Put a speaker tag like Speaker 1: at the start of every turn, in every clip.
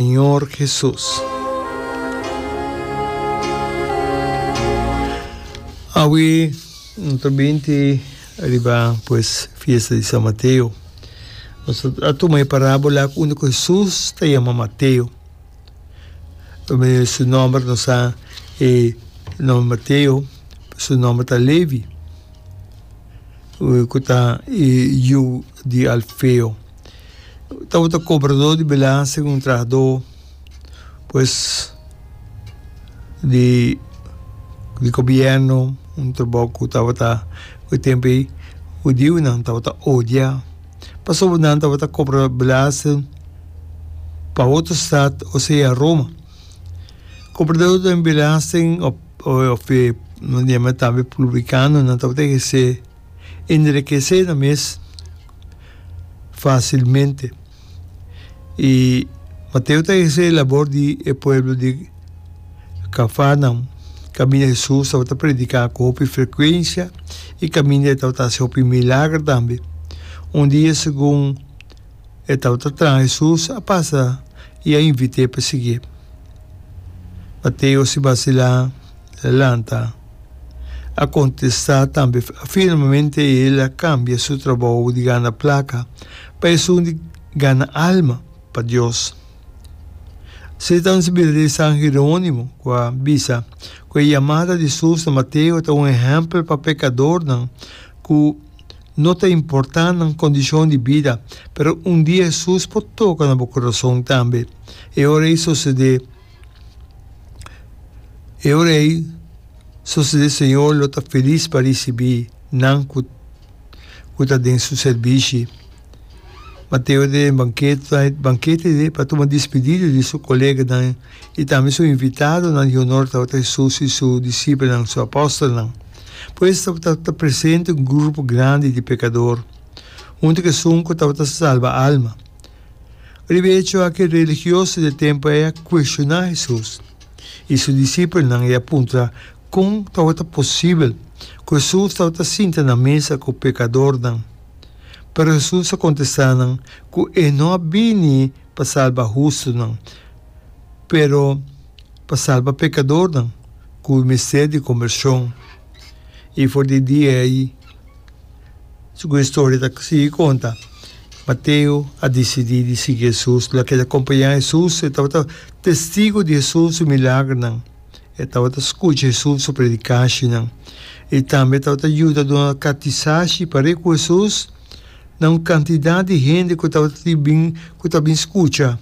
Speaker 1: Señor Jesus. Awe no ta binti riba pues fiesta di San Mateo. Nos a tuma e parabola unda ku Jesus ta yama Mateo. Su nomber nos sa e nomber Mateo, su nomber ta Levi, ku ta e yu di Alfeo. Tabata kobradó di belasting, un trahadó pues di di gobièrnu, un trabou ku tabata ku e tempu ei hudiunan tabata odia pasobra nan tabata kobra belasting pa otro stat, osea Roma. Kobradó di belasting òf e nan yama tambe publikanonan tabata ehersé. Enrekesé nan mes fásilmente. I Mateo ta ehersé e labor di e pueblo di Kafarnaum, kaminda Hesus tabata prediká ku hopi frekuensia i kaminda e tabata hasi hopi milager tambe. Un dia segun e tabata traha Hesus a pasa i a invit'é pa siguié. Mateo si basilá lanta. A kontestá tambe firmemente el a kambia su trabou di gana plaka pa esun di gana alma pa Dios. Satan si bira di San Jerónimo ku a bisa ku e yamada di Hesus na Mateo ta un ehèmpel pa pekadornan ku no ta importá nan kondishon di bida, pero un dia Hesus por toka na bo kurason tambe. E ora ei sosodé. E ora ei sosodé Señor lo ta felis pa risibí nan ku ku ta den su serbishi. Mateo den bankete bankete di pa tuma dispidida di su koleganan i tambe su invitadonan di honor tabata Hesus i su disipelnan, su apòstelnan. Pues tabata presente un grupo grandi di pekador huntu ku esun ku tabata salba alma. Riba e echo aki religioso di e tempu ei a kuestioná Hesus i su disipelnan i a puntra kon tabata posibel ku Hesus tabata sinta na mesa ku pekadornan. Pero Hesus a kontestá nan ku e no a bini pa salba hustunan, pero pa salba pekadornan ku mester di kombershon. I for di e dia ei, Segun e storia ta sigui konta, Mateo a disidí di sigui Hesus. El a keda kompañá Hesus, e tabata testigu di Hesus su milagernan, e tabata skucha Hesus su predikashinan i tambe e tabata yuda duna katisashi par'é ku Hesus na un kantidat di hende ku tabata bin ku ta bin skucha.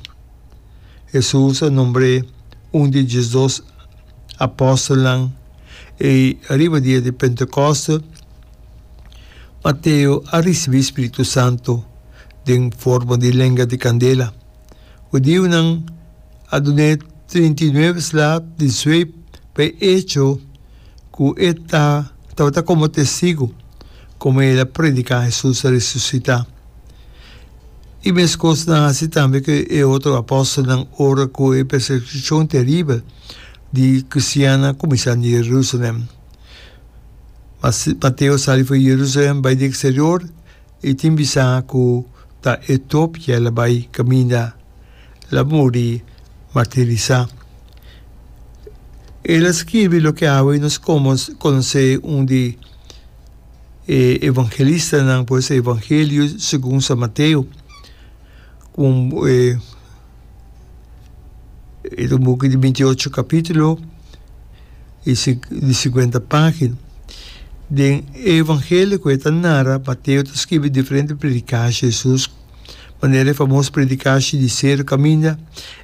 Speaker 1: Hesus a nombr'é un di e diesdos apòstelnan i riba dia di Pentekòste, Mateo a risibí spiritu santu den forma di lenga di kandela. Hudiunan a dun'é 39 sla di sweep pa e echo ku e ta tabata komo testigu komo el a prediká Hesus a resusitá. I meskos nan a hasi tambe ku e otro apòstelnan ora ku e persekushon teribel di kristiannan a kuminsá na Yerusalèm. Mateo sali for Jerusalem bai di exterior i tin bisa ku ta Etopia el a bai kaminda el a muri martirisá. El a skirbi loke awe nos konosé un di e evangelistanan, pues Evangelio segun San Mateo, ku e ta un buki di 28 kapítulo. i di sikuenta página. Den e Evangelio ku e ta nara, Mateo ta skibi diferente predikashi di Hesus, manera e famoso predikashi di Seru kaminda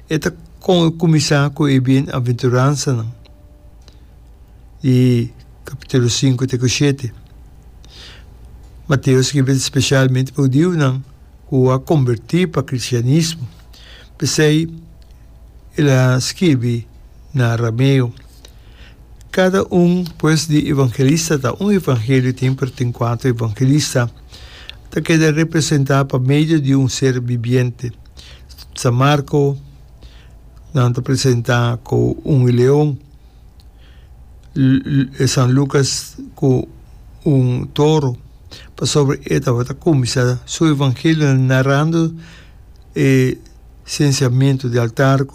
Speaker 1: e ta kuminsá ku e bienaventuransanan di kapítulo sinku te ku shete. Mateo skibi spesialmente pa hudiunan ku a kombertí pa kristianismo. P'esei el a skirbi na arameo. Kada un, pues, di evangelista ta un evangelio tin, pero tin kuater evangelista ta keda representá pa medio di un ser bibiente. San Marko nan ta presentá ku un leon, San Lukas ku un toro, pasobra e tabata kuminsá su evangelio narando e. Sensiamentu di altar.